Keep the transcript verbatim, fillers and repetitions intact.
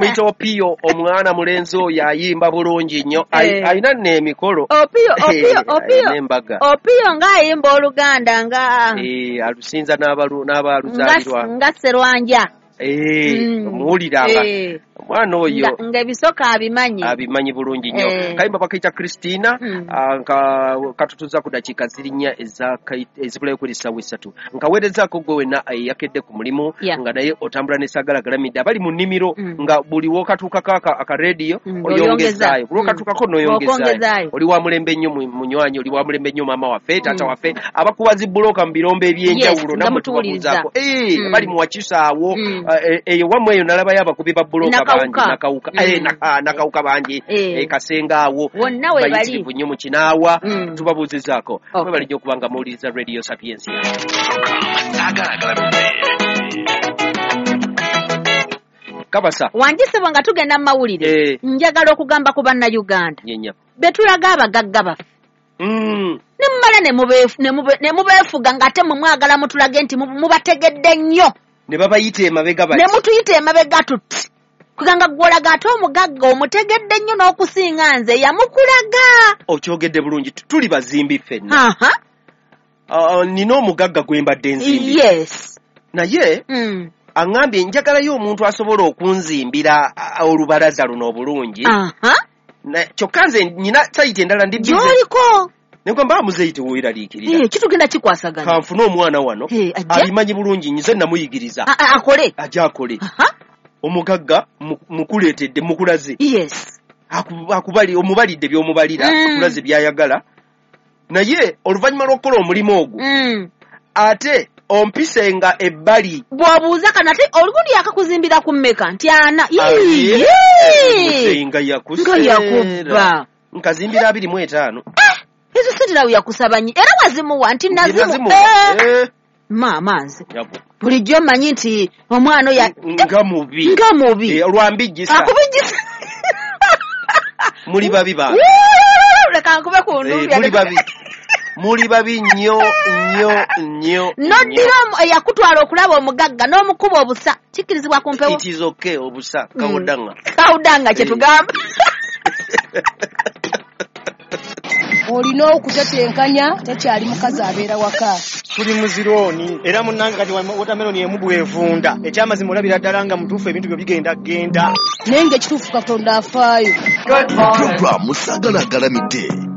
Bamuyita Opiyo, omwana mulenzi oyo ayimba bulungi nnyo. Eh. Alina nno emikolo. Opiyo, Opiyo, Opiyo. N'embaga. Opiyo ng'ayimba Oluganda nga Eh, alusinza n'abalu- n'abaluzaalirwa. nga Sserwanja. Eh, Mm. omuwuliranga. Eh. Omwana oyo Nga- ng'ebisoko abimanyi. Abimanyi bulungi nnyo. Eh. Kayimba bakayita Christina. Mm. ah, nka katutuza ku dakiika ziri nnya eza- ezibulayo kuri essaawa essatu. Nkaweerezaako gwe wenna eyakedde ku mulimu Yeah. nga naye otambula n'esagalagalamidde, abali mu nnimiro Mm. nga buli w'okatuukako aka- akarediyo Mm, oyongezaayo, buli Mm. w'okatuukako n'oyongezaayo. Okwongezaayo. Oli wa mulembe nnyo mu- munywanyi, oli wa mulembe nnyo maama waffe, taata Mm. waffe, abakuba zi bbulooka mu birombe ebyenjawulo Yes, nga nammwe mutuwuliriza. tubabuuzaako. Eh, Mm. abali mu Wakisaawo, Mm. eh, eyo wammwe eyo nalabayo abakubi ba bbulooka bangi. Nakawuka. Nakawuka. Mm. Eh, naka- nakawuka bangi. Eh. Eh, Kasenga awo Wonna we bali. bayitirivu nnyo mu Kinaawa. Mm. Tubabuuzizaako. Okay. Mwebale nnyo okuba nga muwuliriza Radio Sapiensia. Sagalagalamidde. Kabasa. Wangisibwa nga tugenda mu mawulire. Eh. Njagala okugamba ku Bannayuganda Nyenya. be tulaga abagagga baffe, Mm. ne mumala ne mubeefu- ne mube- ne mubeefuga ng'ate mwe mwagala mutulage nti mu- mubategedde nnyo. Ne babayita emabega Ne bati. mutuyita emabega tuti kuganga gw'olaga ate omugagga omutegedde nnyo n'okusinga nze yamukulaga. Okyogedde bulungi, tuli bazimbi ffenna. Aha. Ah, nina omugagga gwe mbadde nzimbi, Yes. naye Mm. aŋŋambye njagalayo omuntu asobola okunzimbira ah, olubalaza luno obulungi. Aha. Na- kyokka nze nina sayiti endala, ndi busy. Gy'oliko. Ne ngamba, muzeeyi, teweeraliikirira. Eh, kitugenda kikwasagana. Kanfune omwana wano Eh, ajje? abimanyi bulungi, nze namuyigiriza. A- a- akole. Ajje akole. Aha. Omugagga mu- mukuleetedde, mukulaze. Yes. Aku- akubali omubalidde by'omubalira, Mm. akulaze by'ayagala, naye oluvannyuma lw'okukola omulimu ogwo, Mm. ate ompisenga ebbali. Bw'obuuza kano ate olugundi yakakuzimbira ku mmeka nti ana. Aye, Yee! muzeeyi nga yakuseera. Nga yakubba. Nkazimbira abiri mu etaano. Ezo sente nawe yakusaba nyi era wazimuwa nti nazimu. Nazimuwa. Eh, Eh, maama nze yabu. bulijjo mmanyi nti omwana oyo Nga mubi. Nga mubi. Eh, lwambijjisa. Akubijjisa. Muli babi bange. Wuu! Leka nkube ku Eh, ndumbya. muli babi, muli babi nnyo nnyo nnyo. Noddira omu- eyakutwala okulaba omugagga n'omukuba obusa, kikkirizibwa ku mpewo? It is okay, obusa kawodanga. Kawudanga kye Eh. tugamba. Olina okutetenkanya, tekyali mukazi abeera waka. Tuli mu zirooni era munnange kati watermelon emu bwevunda, ekyamazima olabira ddala nga mutuufu ebintu byo bigenda genda. Naye ng'ekituufu Katonda afaayo. Puroguramu Sagalagalamidde.